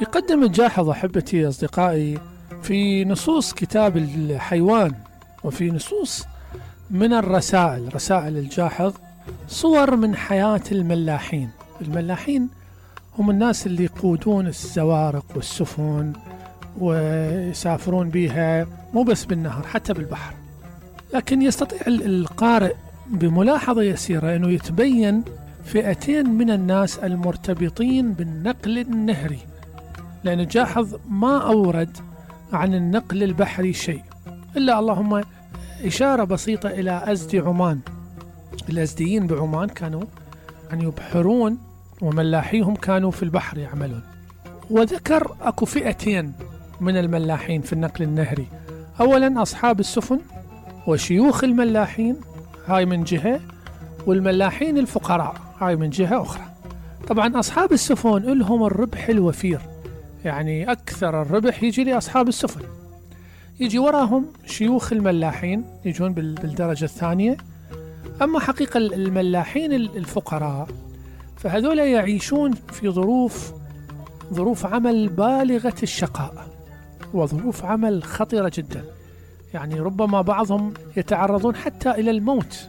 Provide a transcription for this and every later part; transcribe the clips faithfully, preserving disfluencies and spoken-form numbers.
يقدم الجاحظ أحبتي أصدقائي في نصوص كتاب الحيوان وفي نصوص من الرسائل رسائل الجاحظ صور من حياة الملاحين. الملاحين هم الناس اللي يقودون الزوارق والسفن ويسافرون بها مو بس بالنهر حتى بالبحر، لكن يستطيع القارئ بملاحظة يسيرة أنه يتبين فئتين من الناس المرتبطين بالنقل النهري، لأن الجاحظ ما أورد عن النقل البحري شيء إلا اللهم إشارة بسيطة إلى أزدي عمان. الأزديين بعمان كانوا يعني يبحرون وملاحيهم كانوا في البحر يعملون. وذكر أكو فئتين من الملاحين في النقل النهري، أولا أصحاب السفن وشيوخ الملاحين هاي من جهة، والملاحين الفقراء هاي من جهة أخرى. طبعا أصحاب السفن لهم الربح الوفير، يعني أكثر الربح يجي لأصحاب السفن، يجي وراهم شيوخ الملاحين يجون بالدرجة الثانية. أما حقيقة الملاحين الفقراء فهذول يعيشون في ظروف ظروف عمل بالغة الشقاء وظروف عمل خطيرة جدا، يعني ربما بعضهم يتعرضون حتى إلى الموت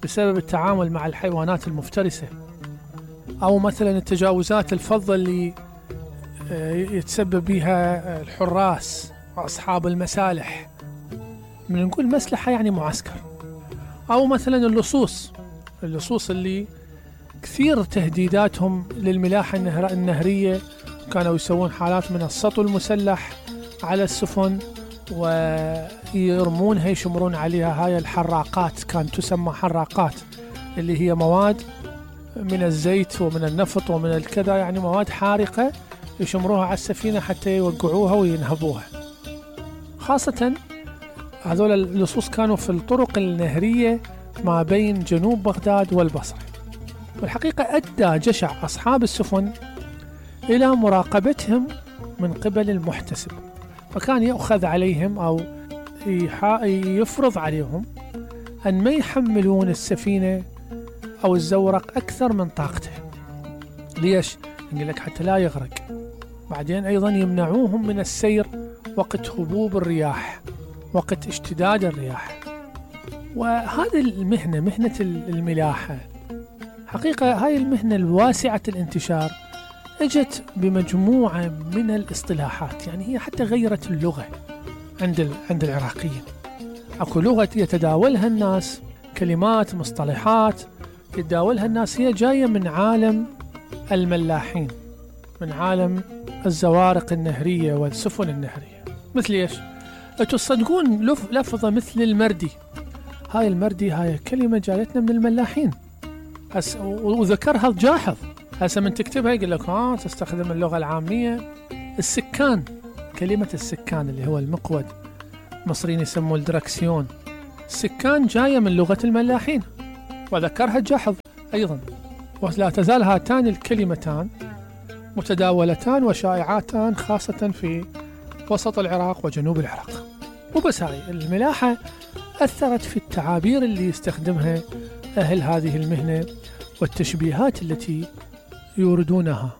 بسبب التعامل مع الحيوانات المفترسة، أو مثلا التجاوزات الفظة اللي يتسبب بها الحراس وأصحاب المسالح. من نقول مسلحة يعني معسكر، أو مثلا اللصوص اللصوص اللي كثير تهديداتهم للملاحة النهرية، كانوا يسوون حالات من السطو المسلح على السفن ويرمونها يشمرون عليها هاي الحراقات، كانت تسمى حراقات، اللي هي مواد من الزيت ومن النفط ومن الكذا، يعني مواد حارقة يشمروها على السفينة حتى يوقعوها وينهبوها. خاصة هذول اللصوص كانوا في الطرق النهرية ما بين جنوب بغداد والبصرة. والحقيقة أدى جشع أصحاب السفن إلى مراقبتهم من قبل المحتسب، فكان يأخذ عليهم أو يفرض عليهم أن ما يحملون السفينة أو الزورق أكثر من طاقته. ليش؟ يقول لك حتى لا يغرق. بعدين أيضا يمنعوهم من السير وقت هبوب الرياح، وقت اشتداد الرياح. وهذه المهنة مهنة الملاحة حقيقة هاي المهنة الواسعة الانتشار اجت بمجموعة من الاصطلاحات، يعني هي حتى غيرت اللغة عند عند العراقيين. اكو لغة يتداولها الناس، كلمات مصطلحات يتداولها الناس هي جاية من عالم الملاحين، من عالم الزوارق النهرية والسفن النهرية. مثل ايش؟ تصدقون لف لفظة مثل المردي، هاي المردي هاي كلمة جايتنا من الملاحين هس، وذكرها الجاحظ. هسه من تكتبها يقول لك ها تستخدم اللغة العامية. السكان، كلمة السكان اللي هو المقود، المصريين يسموه الدركسيون، السكان جاية من لغة الملاحين وذكرها الجاحظ أيضا. ولا تزال هاتان الكلمتان متداولتان وشائعاتان خاصة في وسط العراق وجنوب العراق. وبس هاي الملاحة أثرت في التعابير اللي يستخدمها أهل هذه المهنة والتشبيهات التي يوردونها.